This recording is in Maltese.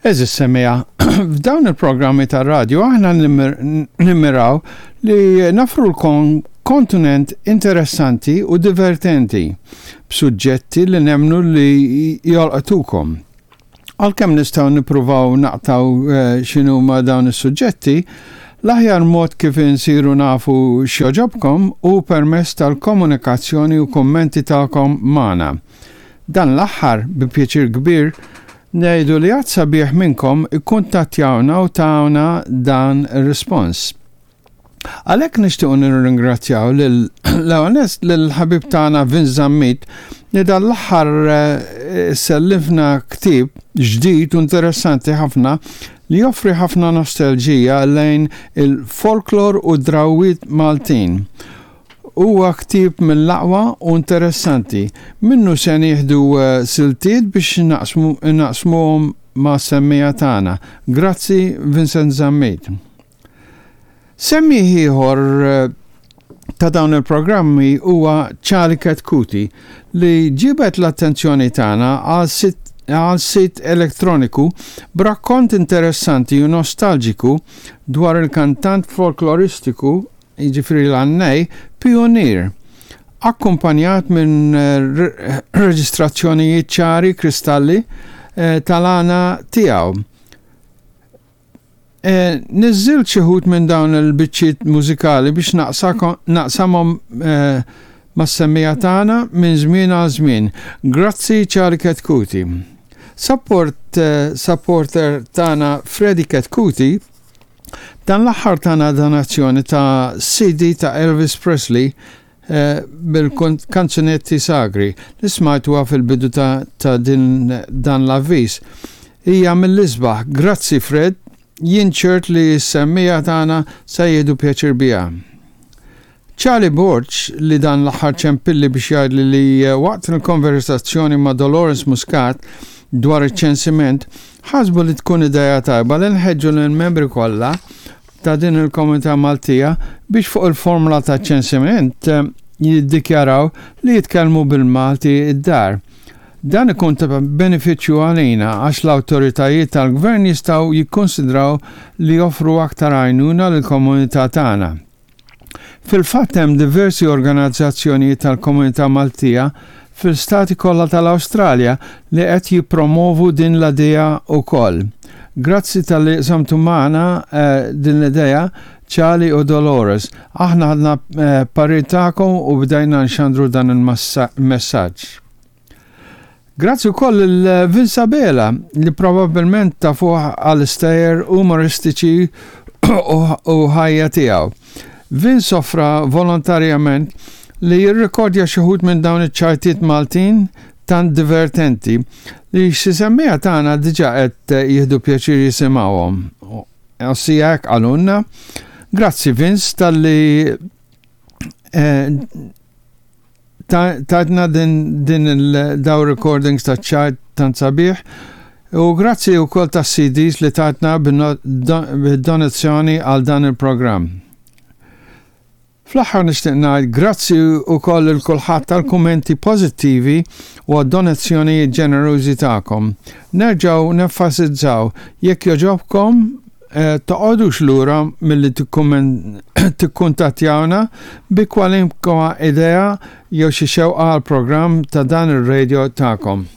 Għeżież semmiegħa, f'dawn il-programmi tar-radju aħna nimmiraw li nafrulkom kontenent interessanti u divertenti b'suġġetti li nemmnu li jolqtukom. Għalkemm nistgħu nippruvaw naqtgħu eh, x'inhuma dawn is-suġġetti, l-aħjar mod kif insiru nafu x'jogħġobkom hu permezz tal-komunikazzjoni u kummenti tagħkom magħna. Dan l-aħħar, bi pjaċir kbir, ngħidu li għadd sabiħ minnkom ikkuntattjawna u tawna dan ir-rispons. Għalhekk nixtiequ nirringrazzjaw lil l-ewwel lill-ħabib tagħna Vince Zammit li dan l-aħħar eh, sellifna ktieb ġdid u interessanti ħafna li joffri ħafna nostalġija lejn il-folklor u drawwiet Maltin. Huwa ktieb mill-aqwa u interessanti. Minnu se nieħdu eh, siltiet biex naqsmuhom ma' semmija tagħna. Grazzi Vincent Zammit. Semmiegħ ieħor ta' dawn il-programmi huwa Charlie Chetcuti li ġibed l-attenzjoni tagħna għal sit elettroniku b'rakkont interessanti u nostalġiku dwar il-kantant folkloristiku, jiġifieri l-għannej, pijunier, akkumpanjat minn reġistrazzjonijiet ċari kristalli tal-għana tiegħu. Eh, niżżilt xi ħut minn dawn il-biċċiet mużikali biex naqsamhom eh, mas-semmija tagħna minn żmien għal żmien. Grazzi Charlie Ketkuti. Support eh, supporter tagħna Freddy Ketkuti dan l-aħħar tagħna donazzjoni ta' CD ta' Elvis Presley eh, bil-kanzunetti sagri li smajtuha fil-bidu ta', ta din dan l-avviż. Hija mill-isbaħ. Grazzi Fred, jien ċert li s-semmija tagħna se jieħdu pjaċir biha. Charlie Borg li dan l-aħħar ċempilli biex jgħidli li eh, waqt il-konversazzjoni ma' Dolores Muscat dwar iċ-ċensiment ħasbu li tkun idea tajba li nħeġġu lill-membri kollha ta' din il-komunità Maltija biex fuq il-formula ta' ċensiment eh, jiddikjaraw li jitkellmu bil-Malti id-dar. Dan ikun ta' benefiċċju għalina għax l-awtoritajiet tal-gvern jistgħu jikkonsidraw li joffru aktar għajnuna lill-komunità tagħna. Fil-fatt hemm diversi organizzazzjonijiet tal-komunità Maltija fil-stati kollha tal-Awstralja li qed jippromovu din l-idea wkoll. Grazzi talli qsamtu magħna eh, din l-idea Charlie u Dolores. Aħna ħadna eh, parir tagħkom u bdejna nxandru dan il-messaġġ. Grazzi wkoll lil Vince Abela li probabbilment tafuh għal stejjer umoristiċi u ħajja tiegħu. Vince offra volontarjament li jirrekordja xi wħud minn dawn iċ-ċajtiet Maltin tant divertenti li xi semmiegħa tagħna diġà qed jieħdu pjaċir jisimgħuhom. Ossia hekk qalulna. Grazzi Vince talli eh, Tajtna din din il-daw recordings ta' ċajt tant sabiħ u grazzi wkoll tas-CDs li tajtna bid-donazzjoni għal dan il-programm. Fl-aħħar nixtieq ngħid grazzi wkoll lil kulħadd tal-kummenti pożittivi u għad-donazzjonijiet ġenerużi tagħkom. Nerġgħu nenfasizzaw jekk jogħġobkom eh, toqgħodux lura milli tikkuntattjawna bi kwalinkwa idea jew xi xewqa għal programm ta' dan ir-radio tagħkom.